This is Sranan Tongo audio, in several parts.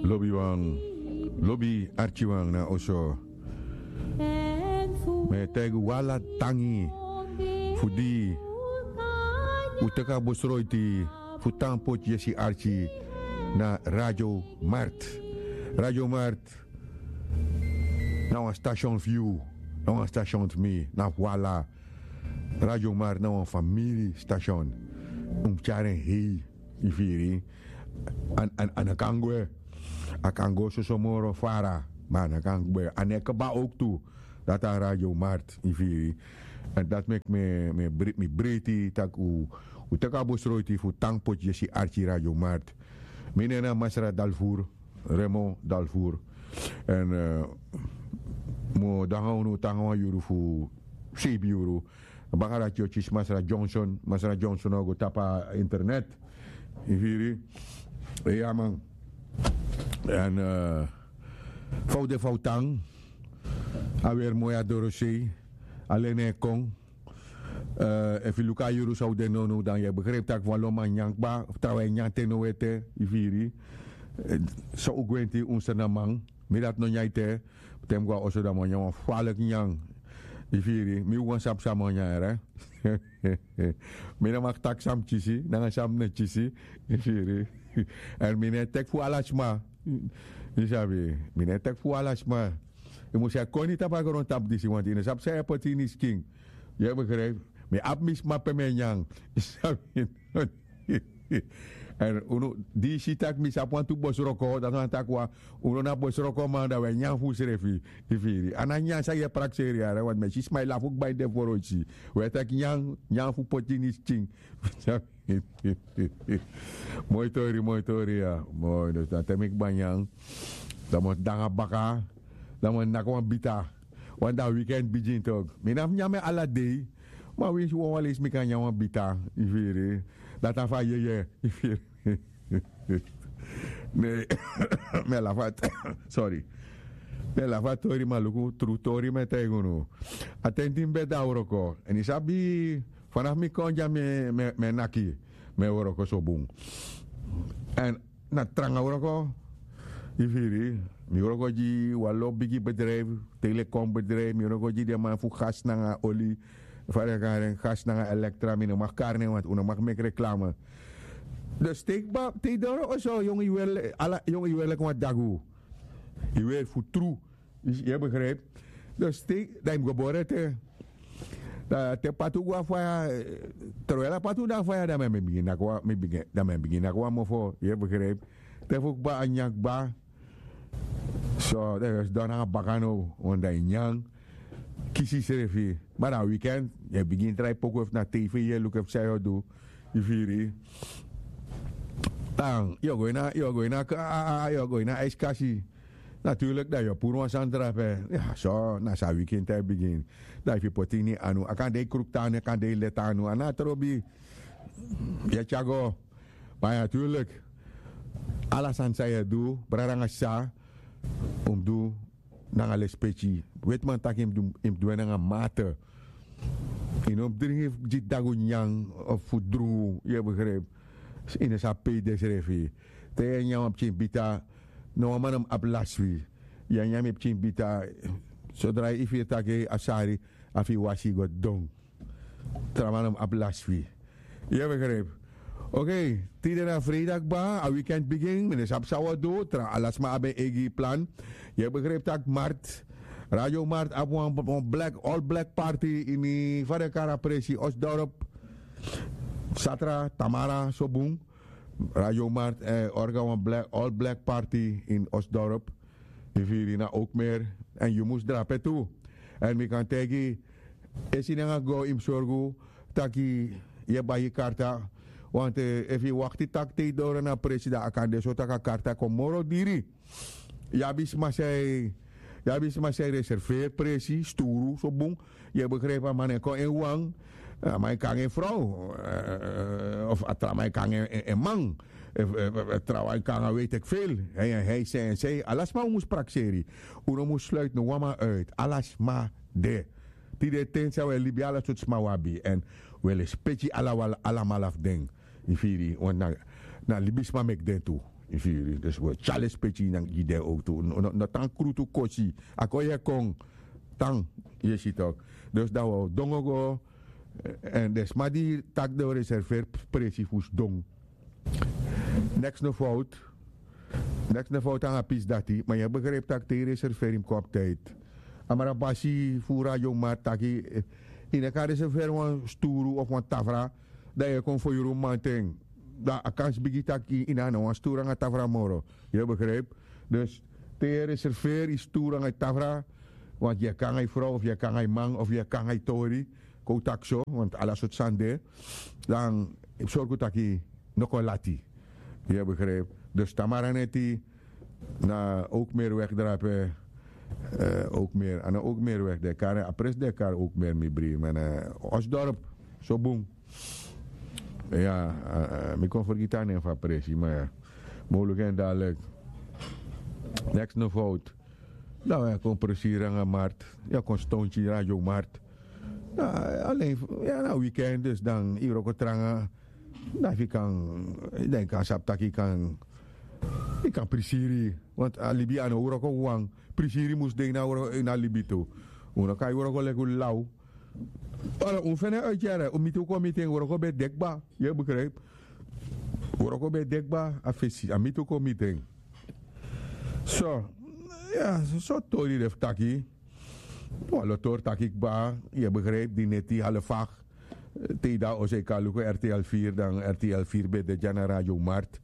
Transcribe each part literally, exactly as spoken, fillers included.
Lobiwan, lobi arkiwan na oso. Mi e taigi un ala tangi fu di un teki a besroiti fu tan poti yesi arki na Radio Mart. Radio Mart na wan station fu yu, na wan station fu mi, na fu ala. Radio Mart na wan famiri station. Un mus tyari en hei, yu firi. A no kan gwe. A kan go soso moro fara, ma a no kan gwe. A no e kba ook tu. Dati a Radio Mart, yu firi. Èn dati meki mi, mi breiti tak' un teki a besroiti fu tan poti yesi arki Radio Mart. Mi nen na Masra Dalfur, Remo Dalfur. Èn mi o de nanga unu te nanga wan yuru fu seibi yuru. Baka dati yu o kisi Masra Johnson. Masra Johnson o go tapu a internet. Yu firi? Iya man. Èn fa un de, fa un tan. A weri moi, a dorosei. A leni e kon. Efu yu luku a yuru san un de nownow, dan yu e begrijpi tak' wan lo man nyan kba, fu trawan e nyan te now ete, yu firi. So un gwenti, un srnaman. Mi dati no nyan ete. Te mi go na oso, dan mi o nyan wan faliki nyan. Yu firi, mi wan sabi san mi o nyan, yere. Mi no mag taki san mi kisi nanga san mi no kisi. Yu firi. Èn mi no e teki fu ala sma. Yu sabi, mi no e teki fu ala sma. Yu mus e koni tapu a grontapu disi, want yu no sabi san yu e poti ini skin. Yu e begrijpi? Mi abi mi sma pe mi e nyan. Yu sabi? Èn unu, di yu si tak' mi sabi wantu bosroko, dati wani taki wan, unu na bosrokoman, dan un e nyan fu unsrefi. Yu firi? A na nyan san yu e prakseri, yere, want mi e si sma e lafu kba ini den foroiti. Un e teki nyan, nyan fu poti ini skin. Moi tori, moi tori, ya. Moi, dus dan te mi kba nyan, dan mi o de nanga baka, dan mi o naki wan bita. Want dan weekend bigin toch. Mi no abi nyan ala dei. Ma winsi wan wan leisi mi kan nyan wan bita, yu firi. Dati na fu a yeye, yu firi. Ne, mi e lafu a, sorry. Mi e lafu a tori, ma luku, tru tori mi e taigi unu. A ten di mi ben de na wroko. Èn yu sabi, fanafu mi kon dya mi e, mi e, mi e naki, mi e wroko so bun. Èn na tranga wroko, yu firi. Mi wroko gi wan lo bigi bedrijf, telekom bedrijf, mi wroko gi den man fu gas nanga oli, fa den e kari en, gas nanga elektra, mi no mag kari nen, want un no mag meki reklame. Dus te yu kba, te yu doro oso, yongu yu weri, ala, yongu yu weri leki wan dagu. Yu weri fu tru. Yu e begrijpi? Dus te, dan yu mus go bori ete. Dan te patu go na faya, eh, terwijl a patu de na faya, dan mi e bigin naki wan, mi bigin, dan mi e bigin naki wan mofo, yu e begrijpi? Te fu kba, a nyan kba. So, dan yu o sidon nanga baka now, want dan yu nyan, kisi yusrefi. Ma dan weekend, yu e bigin drai poku efu na tv yu e luku efu san yu o du. Yu firi? Dan yu o go ini a, yu o go ini a, a, a, a, yu o go ini a aiskasi. Natuurlijk, dan yu o puru wan sani drape. Ya, so, na so a weekend e bigin. Dan efu yu poti ini anu, a kan de yu kruktu anu, a kan de yu leti anu, a no abi trobi. Yu e tyari go. Ma ya, natuurlijk, ala sani san yu e du, brada nanga sisa, un mus du nanga lespeki. Wetiman taki yu mus du, yu mus du en nanga mate. Yu no mus dringi gi dagu nyan of fu drungu, yu e begrijpi. Yu no sabi pe yu de srefi. Te yu e nyan wan pikin bita, no wan man no mus abi lasi fu yu. Yu e nyan mi pikin bita, sodra yu firi taki a sari, a fu yu wasi go didon. Tra man no mus abi lasi fu yu. Yu e begrijpi. Oké, tide na freida kba, a weekend bigin, mi no sabi san wi o du, tra ala sma abi en eigi plan. Yu e begrijpi tak' Mart, Radio Mart abi wan, wan black, all black party ini, fa den e kari a presi, Osdorp. Satra, Tamara, so bun. Radio Mart, eh, orga wan black, all black party in Osdorp. Yu firi, na Ookmeer. Èn yu mus drape tu. Èn mi kan taigi, esi nanga go yu mus sorgu taki yu e bai yu karta. Want, eh, efu yu wakti taki te yu doro na presi, dan a kan de so tak' a karta kon moro diri. Yu abi sma san e, yu abi sma san e reserveri presi, sturu, so bun. Yu e begrijpi, a man e kon en wan, a man e kon nanga en frow, eh, of a tra man e kon nanga en, en, en man, eh, eh, eh, trawan e kon nanga weet ik veel. Hij, hij, zij en zij, ala sma un mus prakseri. Un no mus sluiti no wan man uit. Ala sma de. Tide ten san wi e libi, ala sortu sma wi abi. Èn wi e lespeki ala, alamala fu den. Yu firi, want na, na libisma meki den tu. Yu firi? Dus wi e tyari lespeki gi den owktu. No tan krutu kosi. A kon yu e kon tan. Yu e si tok'? Dus dan wi o dongo go. Èn den sma di taki den o reserveri presi fu sidon. Neks no fowtu. Neks no fowtu nanga pisi dati ma yu e begripi tak' te yu reserveri yu mus kon abi tidi. A mara basi fu radio mart taki yu no kan reserveri wan sturu of wan tafra, dan yu e kon foyuru mamanten. Dan a kansi bigi tak' yu no abi na wan sturu nanga tafra moro. Yu e begripi? Dus te yu e reserveri yu sturu nanga yu tafra, want yu e kon nanga yu frow of yu e kon nanga yu man of yu e kon nanga yu tori, kon un taki so want ala sortu sani de. Dan yu mus sorgu tak' yu no kon lati. Yu e begripi? Dus tamara neti na owkmeri wegdrape. Owkmeri a no owkmeri wegdrape a presi de kari owkmeri mi bri man. Osdorp so bun. Ya. Mi kon fergiti a nen fu a presi ma ya. Mi o luku en dadilik. Neks no fowtu. Dan wi e kon presiri nanga mart. Yu e kon stonti radio mart. Alen ya na wikend dus dan yu wroko tranga. Dan fu yu kan dan yu kan sabi tak' yu kan yu kan prisiri. Want a libi a no wroko wan. Prisiri mus de ini a libi tu. Un no kan yu wroko leki un law. Olo un feni en uiti yere un miti un kon miti en wroko ben de kba. Yu e begripi? Wroko ben de kba a fesi a miti un kon miti en. So ya so tori de fu taki. Wan lo tori taki kba. Yu e begripi di neti halfak te yu de a oso yu kan luku rtl firi dan rtl firi ben de dya na radio mart.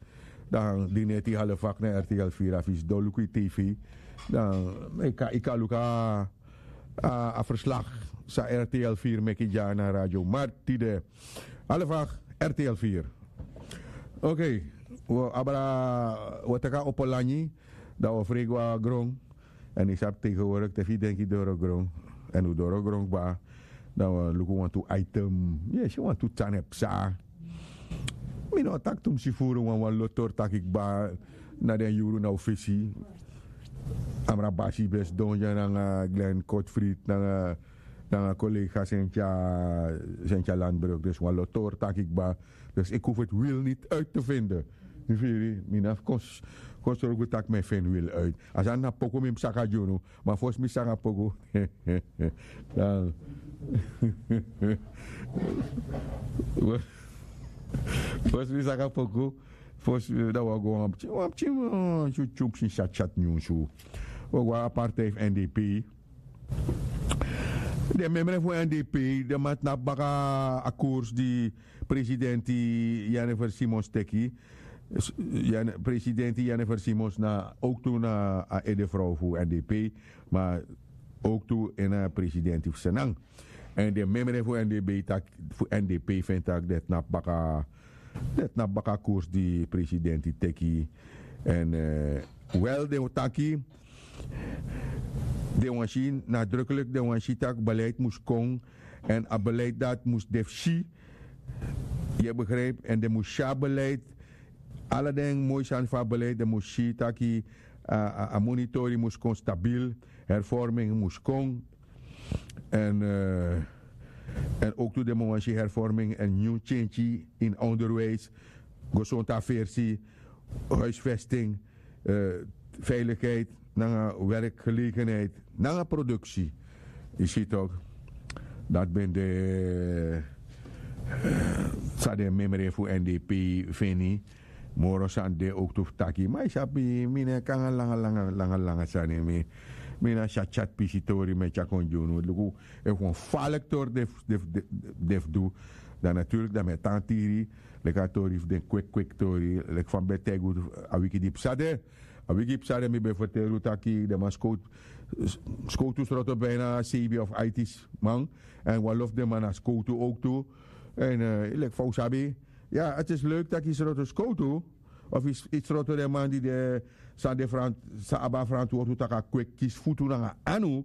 Dan di neti halfak na rtl firi a fisi don luku yu tv. Dan yu kan luku a verslag san rtl firi meki dya na radio mart tide. Halfak rtl firi. Okei. Wi o abra wi o teki a opo langi. Dan wi o frei go na gron. Èn yu sabi tegenwoordik te fu yu denki doro gron èn un doro gron kba. Dan wi o luku wantu item. Yu e si wantu tan e psa. Mi no o taki tumsi furu wan wan lotori taki kba. Na den yuru na un fesi. Amra basi ben sidon dya nanga glen kotfrit nanga kolega sentya landbruk dus wan lotori taki kba. Dus iki hofi eti wil niti uiti te vinde. Mi firi mi na fu kon sorgu tak' mi e feni wil uiti. A sani na poku mi mus saka gi unu. Ma fosi mi saka poku dan fosi mi saka poku. Fosi dan wi o go wan pikin wan pikin wan tyutyup sin syatsyat nyunsu. Wi o go na a partij fu n d p. Den memre fu n d p den man tnapu baka a koers di presidenti jennifer simons teki. Presidenti jennifer simons na owktu na a edefrow fu n d p. Ma owktu ini a presidenti fu senan. Èn den memre fu n d p taki fu n d p feni tak' den tnapu baka den tnapu baka a koers di presidenti teki. Èn wel den o taki den wan si nadruklik den wan si tak' beleid mus kon. Èn a beleid dati mus de fu si. Yu e begripi èn den mus si a beleid. Ala den moi sani fu a beleid den mus si tak' a monitori mus kon stabil. Hervorming mus kon. Èn èn owktu den mus wan si hervorming èn nyun tyentyi ini onderwijs. Gesontu aversi huisvesting veilikheid nanga werkgelegenheid nanga produksi. Yu si tok'? Dati ben de san den memre fu n d p feni. Moro sani de owktu fu taki ma yu sabi mi no e kon nanga langa langa langa sani. Mi na syatsyat pisi tori mi e tyari kon gi unu luku efu wan faliki tori de fu du. Dan naturlik dan mi e tan tiri leki a tori fu den kweki kweki tori leki fa mi ben taigi unu. A wiki di psa de a wiki psa de mi ben ferteri unu taki den man skowtu sroto bina seibi of aitis man. Èn wan lo fu den man na skowtu owktu. Èn leki fa un sabi ya ati isi leuki tak' yu sroto skowtu of yu sroto den man di de san de san abi a ferantwortu tak' a kweki kisi futu nanga anu.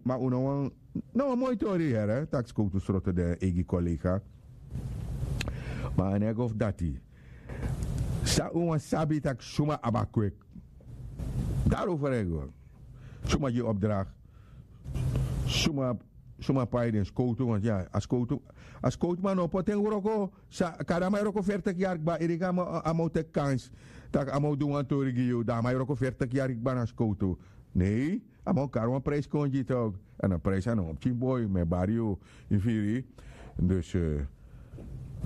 Ma un no wan no wan moi tori yere tak' skowtu sroto den eigi kolega. Ma a no e go fu dati san un wani sabi tak' suma abi a kweki. Dari un ferego suma gi opdrakti suma suma pai den skowtu want ya a skowtu a skowtu man no poti en wroko. Sa kari a man e wroko fertiki yari kba iriki a man o teki kansi tak' a man o du wan tori gi yu dan a man e wroko fertiki yari kba na skowtu. Nei, a man o kari wan prijsi kon gi yu tok. Èn a prijsi a no wan pikin boi mi e bari yu. Yu firi? Dus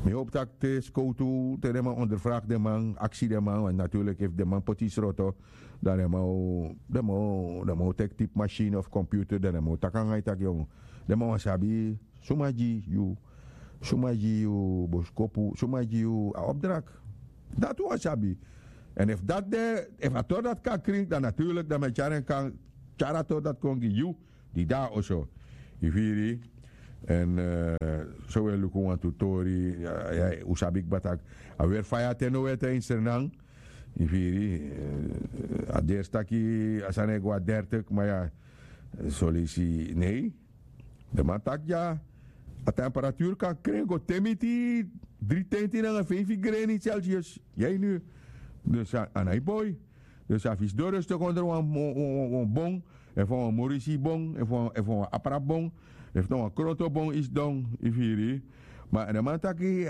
mi hopi tak' te skowtu te den man onderfraki den man aksi den man want naturlik efu den man poti yu sroto dan den man o den man o teki tipi masini of komputer dan den man o taki nanga yu tak' yongu. Den man wani sabi suma gi yu suma gi yu boskopu suma gi yu a opdrak. Dati wan sabi. Èn efu dati de efu a tori dati kan krin dan naturlik dan mi e tyari en kan tyari a tori dati kon gi yu di de na oso. Yu firi? Èn so wi e luku wantu tori un sabi kba tak' a weri faya te no weri te ini sernan. Yu firi? A dersi taki a sani e go a dertik ma ya soleisi nei. Den man taki dya a temperaturu kan kren go te miti dri tenti nanga feifi greni celsius. Yai nu. Dus a na yu boi. Dus a fisi doro yu stok onder wan bon efu wan morisi bon efu wan aprabon efu na wan kroto bon yu sidon. Yu firi? Ma den man taki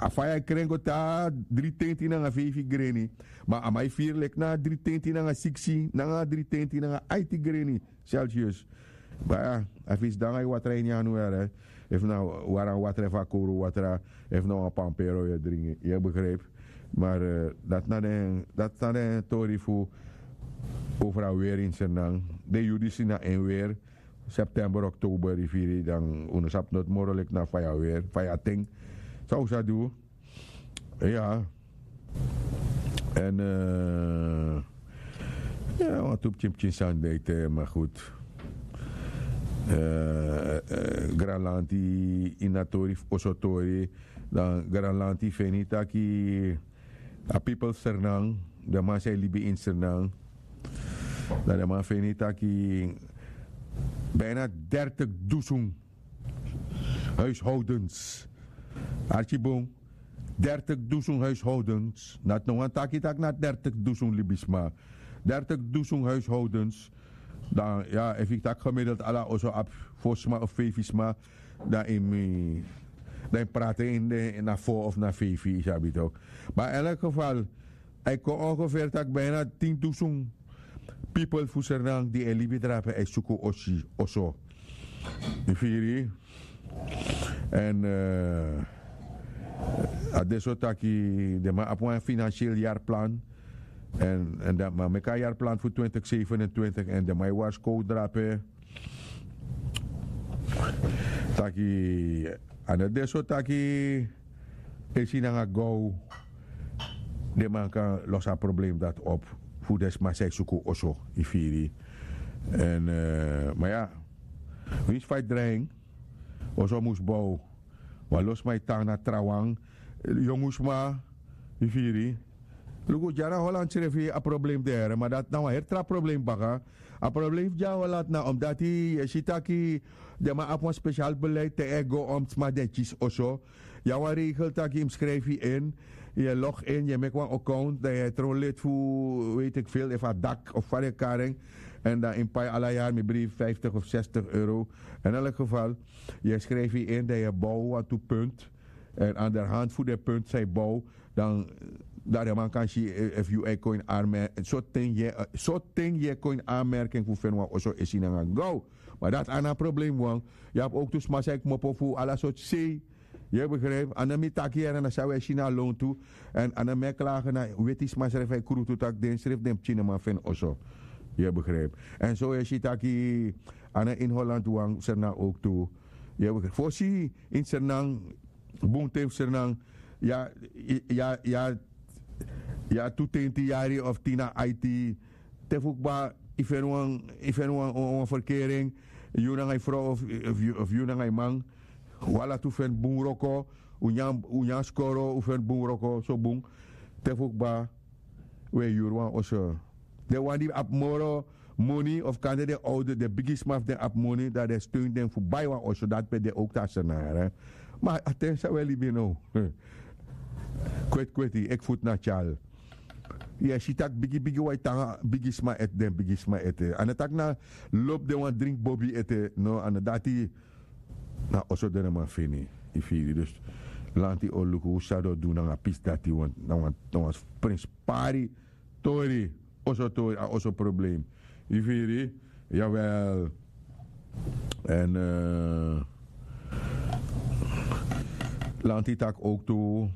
a faya e kren go te a dri tenti nanga feifi greni. Ma a man e firi leki na a dri tenti nanga siksi nanga a dri tenti nanga aiti greni celsius. Baya a fisi dan a e watra ini yanu yara efu na wara watra efu a kowru watra efu na wan pampero yu e dringi yu e begripi. Mar dati na den tori fu over a weri ini sernan. Den yu disi na en weri september oktober yu firi dan unu sabi noti moro leki na faya weri faya ten. San un sa du? Ya. Èn ya wantu pikin pikin sani de ete ma goed. Granlanti ini a tori fu oso tori dan granlanti feni taki a pipel fu sernan den man san e libi ini sernan dan den man feni taki bijna dertig dusun huishoudens. Arki bun. Dertig dusun huishoudens dati no wani taki tak' na dertig dusun libisma. Dertig dusun huishoudens. Dan ya efu yu taki gemiddeld ala oso abi fo sma of feifi sma dan yu mus dan yu prati ini den na fo of na feifi yu sabi tok. Ma in elk geval a e kon ongefer tak' bijna tin dusun pipel fu sernan di e libi drape a e suku osi oso. Yu firi? Èn a de so taki den man abi wan finansiel yarplan. Èn èn dan man meki a yarplan fu twintig sevenentwintig èn den man e warskow drape taki a no de so taki esi nanga gow den man kan losi a problem dati op fu den sma san e suku oso. Yu firi? Èn ma ya winsi fa yu drai en oso mus bow. Wan lo sma e tan na trawan yongu sma. Yu firi? Luku dyari na holland srefi a problem de here ma dati na wan heri tra problem baka. A problem fu dyari holland na omdati yu e si taki den man abi wan spesial beleid te e go om sma den kisi oso. Yu abi wan regel taki yu mus skrifi yu in. Yu e log in yu e meki wan account dan yu e tron lid fu weti eki vel efu a dak of fa den e kari en. Èn dan yu mus pai ala yari mi bribi vijftig of zestig euro. In elk geval yu e skrifi yu in dan yu e bow wantu punt. Èn anderhand fu den punt san yu bow dan dan den man kan si efu yu e kon ini armerking soten yu e kon ini armerking fu feni wan oso esi nanga gow. Ma dati a na a problem wan. Yu abi owktu sma san e kmopo fu ala sortu sei. Yu e begripi a no mi taki yere na san wi e si na a lontu. Èn a no mi e klage na weti sma srefi e krutu tak' den srefi den pikin no man feni oso. Yu e begripi? Èn so wi e si taki a no ini holland wan sernan owktu. Yu e begripi fosi ini sernan bun ten fu sernan. Ya ya ya tu tenti yari of tin na aiti. Te fu kba yu feni wan yu feni wan wan ferkeri en yu nanga yu frow of yu nanga yu man. Wala tu feni bun wroko. Un nyan skoro un feni bun wroko so bun. Te fu kba un e yuru wan oso. Den wan di abi moro moni of kande den owde den bigisma fu den abi moni dan den steun den fu bai wan oso dati pe den owktu a sernayara. Ma a ten san un e libi now. Kweti kweti eki futu na tyal. Yu e si tak' bigi bigi waiti nanga bigi sma ete, den bigi sma ete a no tak' na lobi den wani dringi bobi ete. No a no dati. Na oso den no man feni. Yu firi dus lanti o luku san den o du nanga pisi dati na wan prenspari tori. Oso tori a oso problem. Yu firi. Yawel. Èn lanti taki owktu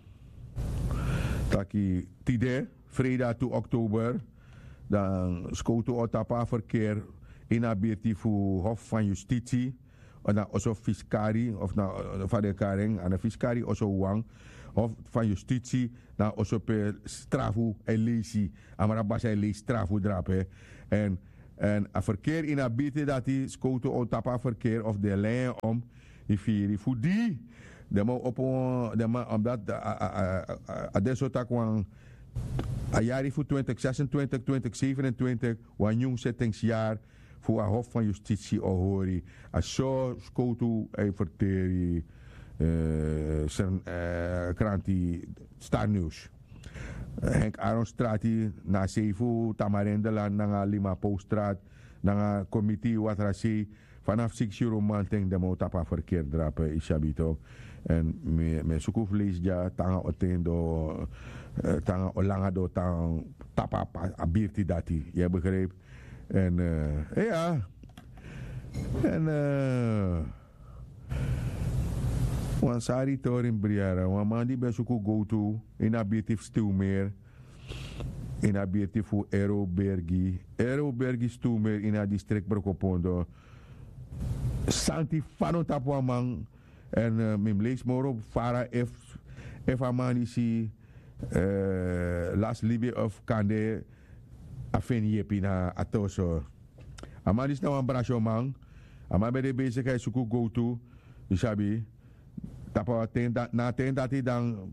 taki tide, freida tu oktober, dan skowtu o tapu a ferkeer ini a birti fu hof van yustiti, na oso fiskari of na fa den kari en a na fiskari oso wan, hof van yustiti, na oso pe strafu e leisi. Amra basi e leisi strafu drape. Èn a ferkeer ini a birti dati skowtu o tapu a ferkeer of den lei en om. Yu firi fu di den man opo den man omdati a de so taki wan a yari fu twintig zesentwintig twintig sevenentwintig wan nyun settingsyari fu a hof van yustiti o hori. A so skowtu e ferteri kranti starniws. Henk aron strati na a sei fu tamarendelan nanga limapowstrat nanga komiti watrasei. Fanafu siksi yuru manten den man o tapu a ferkeri drape yu sabi tok'. Èn mi e suku fu leisi dya tanga o ten doo tanga o langa doo tanga tapu a birti dati yu e begripi. Èn ya èn wan sari tori mi briara wan man di ben suku gowtu ini a birti fu stiwmeer ini a birti fu erobergi erobergi stiwmeer ini a distrikti brokopondo. Santi fadon tapu a man. Èn mi mus leisi moro fara efu a man disi lasi libi of kande a feni yepi na a toso. A man disi na wan brasyoman. A man ben de besigi a e suku gowtu yu sabi tapu a ten na a ten dati dan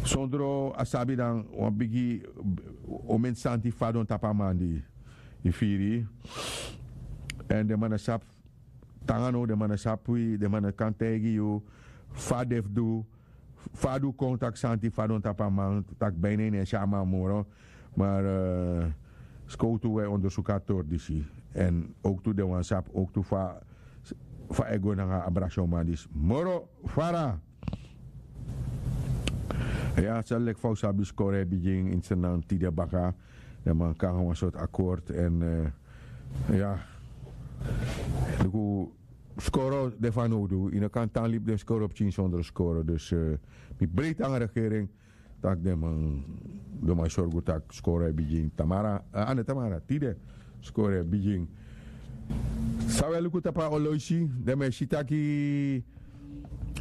sondro a sabi dan wan bigi omen santi fadon tapu a man di yu firi. Èn den man na sabi tanga now den man na sabi wi den man na kan taigi yu fa den fu du fa a du kon tak' santi fadon tapu a man tak' ben ini en si a man moro. Mar skowtu wi e ondersuku a tori disi èn owktu den wani sabi owktu fa e go nanga a brasyoman disi moro fara. Ya sel leki fa un sabi skoro e bigin ini srnan tide baka. Den man kon nanga wan sortu akord èn ya luku skoro de fanowdu yu no kan tan libi den skoro pikin sondro skoro dus mi breiti nanga regering tak' den man den man sorgu tak' skoro e bigin tamara a no tamara tide skoro e bigin. San wi e luku tapu a oloisi den man e si taki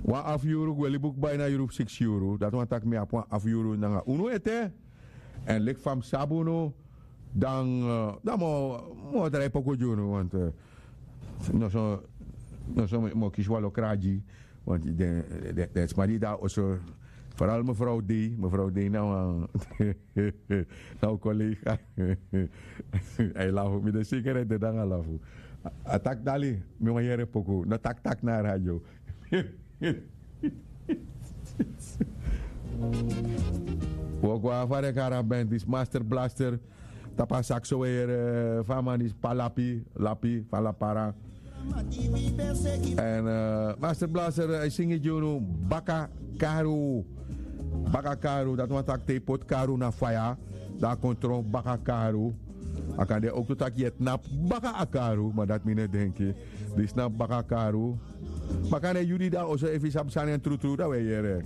wan afu yuru gwe libi un kba ini a yuru fu siksi yuru dati wani taki mi abi wan afu yuru nanga unu ete. Èn leki fa mi sabi unu dan dan mi o drai poku gi unu want noso mi o kisi wan lokra gi want den sma di de na oso foral mefrow dei mefrow dei na wan na un kolega. A e lafu mi de seker a e dede nanga lafu. A taki dali mi wan yere poku no taki taki na a radio. Wi o go na fadekara ben disi master blaster tapu a sakso weri fa a man disi pa lapi lapi fa lapara. Èn master blaster a e singi gi unu baka karu. Baka karu dati wani taki te yu poti karu na faya dan a kon tron baka karu. A kan de owktu taki yu e tnapu baka a karu ma dati mi no e denki. Disi na baka karu. Baka na yu di de na oso efu yu sabi sani en trutru dan wi e yere.